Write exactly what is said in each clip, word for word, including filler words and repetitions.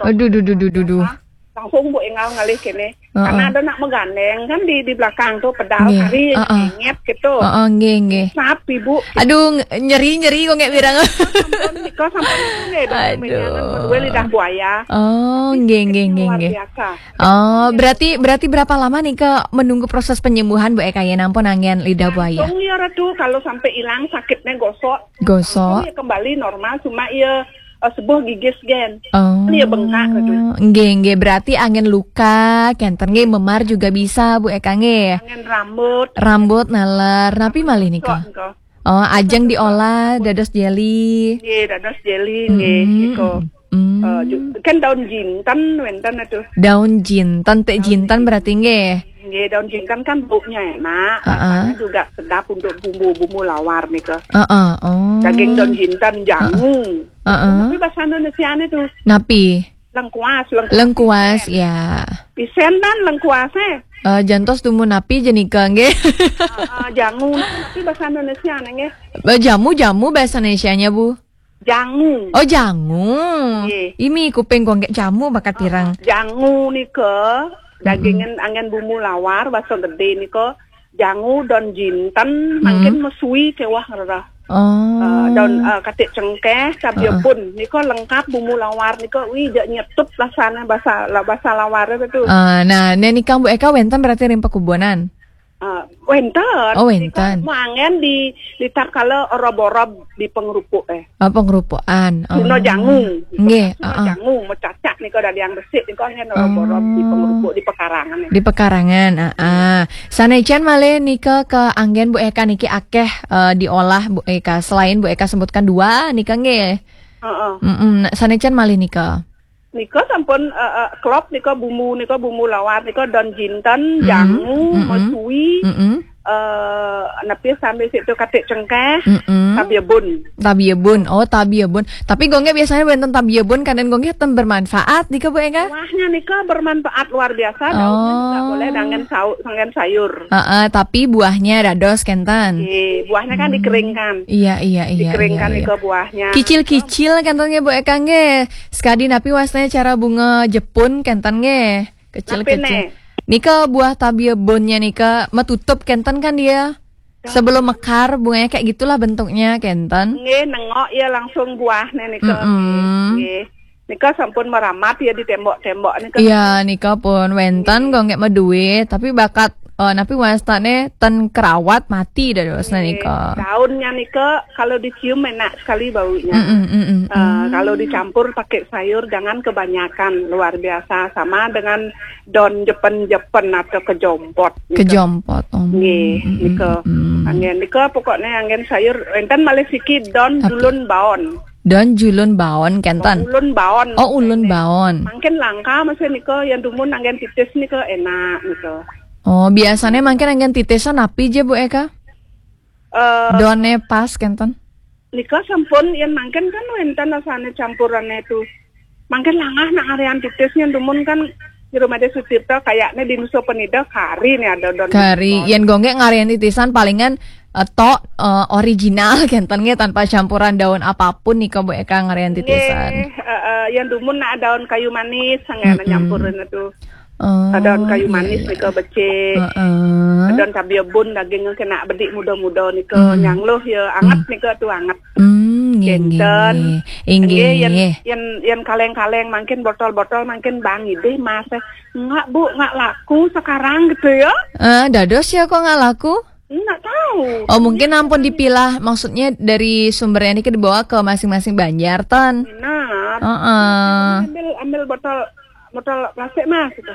Aduh, duh, duh, duh, duh, duh. Langsung Bu Engal ngalih kene. Heeh. Karena ada nak megandeng kan di di belakang tuh pedal Nggih. kari yang Heeh. ngenyet gitu. Heeh, nggih, nggih. Sapi Bu. Aduh, ng- nyeri, nyeri kok nggak birang. Sampun nika sampun nggih dong Aduh. mejangan berdua lidah buaya. Oh, nggih, nggih, nggih, Luar nggih. Biasa. Oh, berarti berarti berapa lama nih ke menunggu proses penyembuhan Bu Eka ya, nampun angin lidah buaya? Langsung ya Ratu kalau sampai hilang sakitnya gosok. Gosok. Langsung ya kembali normal cuma ya eh, sebuah gigis gen. Oh. Iya, bengkak, aduh. Nggih, nggih, berarti angin luka, kenten nggih, memar juga bisa Bu Eka nggih. Angin rambut. Rambut naler, napi malih nika? Kok engko. Oh, ajeng diolah dados jelly. Nggih, dados jelly Mm-mm. nggih iko. Mm. Eh, ju- kan daun jinten wenten itu. Daun jinten, teh jinten berarti nggih. Nggih, daun jinten kan baunya enak, Heeh. rasanya juga sedap untuk bumbu-bumbu lawar nika. Heeh, oh. Daging daun jinten jangu. Heeh. Tapi bahasa Indonesia itu Napi? Lengkuas, lengkuas. Lengkuas ya. Isen dan lengkuasnya. Eh, jantos dumun napi jenika nggih. Eh, jangu, tapi bahasa Indonesia nggih. Eh, jamu, jamu bahasa Indonesianya Bu. Jangu. Oh, jangu. Nggih. Ini kuping gua nggak jamu bakat pirang. Jangu nika dagingin angin bumbu lawar bahasa gede nika jangu daun jinten mungkin mesui kewah ngerah. Oh. Eh, daun eh, katik cengkeh, cabai bun nika lengkap bumbu lawar nika wi jak nyetut rasanya bahasa la- bahasa lawar itu. Eh, nah, nika Bu Eka wenten berarti ring pekubunan. Eh, wenten. Oh, wenten. Nika mangen di di tak kala orob-orob di pengerupuk eh. Oh, pengerupukan. Oh. Tuna jangu. Nggih, Tuna heeh. Jangu mecacak nika dari yang resik nika angin orob-orob di pengerupuk di pekarangan. Di pekarangan, ah, ah. Sanecen malih nika ke anggen Bu Eka niki akeh eh, diolah Bu Eka. Selain Bu Eka sebutkan dua nika nggih. Heeh. Mm-mm. Nah, sanecen malih nika. Nika sampun eh, eh, klop nika bumbu nika bumbu lawar nika daun jinten, Mm-mm. jangu, Mm-mm. mesui, Mm-mm. eh napi sambil situ katik cengkeh, Mm-mm. Tabiebun. Tabiebun. Oh, tabiebun. Tapi gongge biasanya wenten tabiebun kadang gongge ten bermanfaat nika Bu Eka? Buahnya nika bermanfaat luar biasa, daunnya juga Oh. Boleh dengan sau dengan sayur. Heeh, tapi buahnya dados kenten. Eh, buahnya kan dikeringkan. Iya, iya, iya. Dikeringkan Iya, iya. Nika buahnya. Kicil-kicil kenten nggih Bu Eka nggih. Sekadi napi wasna cara bunga Jepun kenten nggih. Kecil-kecil. Napi, ne? Nika buah tabiebunnya nika metutup kenten kan dia. Sebelum mekar bunganya kayak gitulah bentuknya kenten. Nggih, nengok ya langsung buahnya nika. Mm-mm. Nggih. Nika sampun meramat ya di tembok-tembok nika. Iya, nika pun wenten gongge meduit, tapi bakat eh, napi wastane ten kerawat mati dadosna nika. Daunnya nika kalau dicium enak sekali baunya. Mm-mm, mm-mm. Eh, kalau dicampur pakai sayur jangan kebanyakan, luar biasa, sama dengan daun jepen-jepen atau kejompot. Nika. Kejompot. Oh. Nggih, Mm-mm, nika. mm-mm. Anggen nika pokoknya anggen sayur enten malih siki daun Tapi- dulun baon. Daun julun baon kenten. Ulun baon. Oh, ulun baon. Mungkin langka masih nika yang dumun anggen titis nika enak nika. Oh, biasanya mungkin anggen titis napi je Bu Eka? Eh, Daunnya pas kenten. Nika sampun yang mungkin kan wenten rasanya campurannya itu. Mungkin langah nak ngarian titisnya dumun kan di rumah dia Sucipto kayaknya di Nusa Penida kari nih ada daun Kari, baon. Yen gongge ngarian titisan palingan eh, tok eh, original kenten nggih tanpa campuran daun apapun nika Bu Eka ngarian titisan. Nggih, eh, eh, yang dumun nak daun kayu manis sangat Mm-mm. nyampurin itu. Oh, Ada daun kayu iya, manis iya. Nika becik. Heeh. Daun cabai bun dagingnya kena bedik muda-muda nika Hmm. nyangluh ya anget nika tu anget. Hmm, nggih, nggih, Kenten. nggih. Inggih, Nggih, yang nggih. yang yang kaleng-kaleng mungkin botol-botol mungkin bang idih mas eh. Enggak bu, enggak laku sekarang gitu ya. Eh, dados ya kok nggak laku? Enggak tahu. Oh, mungkin ampun dipilah, maksudnya dari sumbernya ini dibawa ke masing-masing banjar ten. Benar. Heeh. Ambil ambil botol botol plastik mas gitu.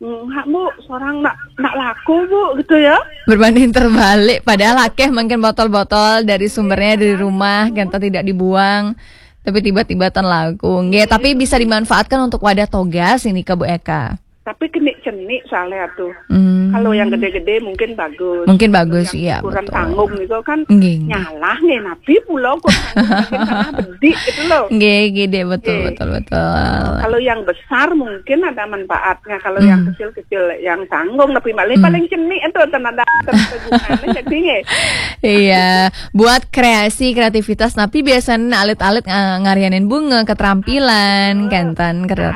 Enggak bu, seorang nak nak laku bu gitu ya. Berbanding terbalik, padahal akeh mungkin botol-botol dari sumbernya dari rumah, kenten tidak dibuang. Tapi tiba-tiba ten laku. Nggih, tapi bisa dimanfaatkan untuk wadah togas ini ke Bu Eka. Tapi kenik cenik soalnya tuh. Hmm. Kalau yang gede-gede mungkin bagus. Mungkin bagus, Yang iya, ukuran betul. Tanggung itu kan Nggih, nggih. Nyalah nggih napi pulau kok tanggung mungkin salah bedik gitu loh. Nggih, gede betul, Nggih. Betul, betul. Kalau yang besar mungkin ada manfaatnya. Kalau Hmm. Yang kecil-kecil yang tanggung tapi paling Hmm. paling cenik itu tenaga tenaga gunanya jadi nggih. Iya, buat kreasi kreativitas tapi biasanya alit-alit nga- ngarianin bunga keterampilan kenten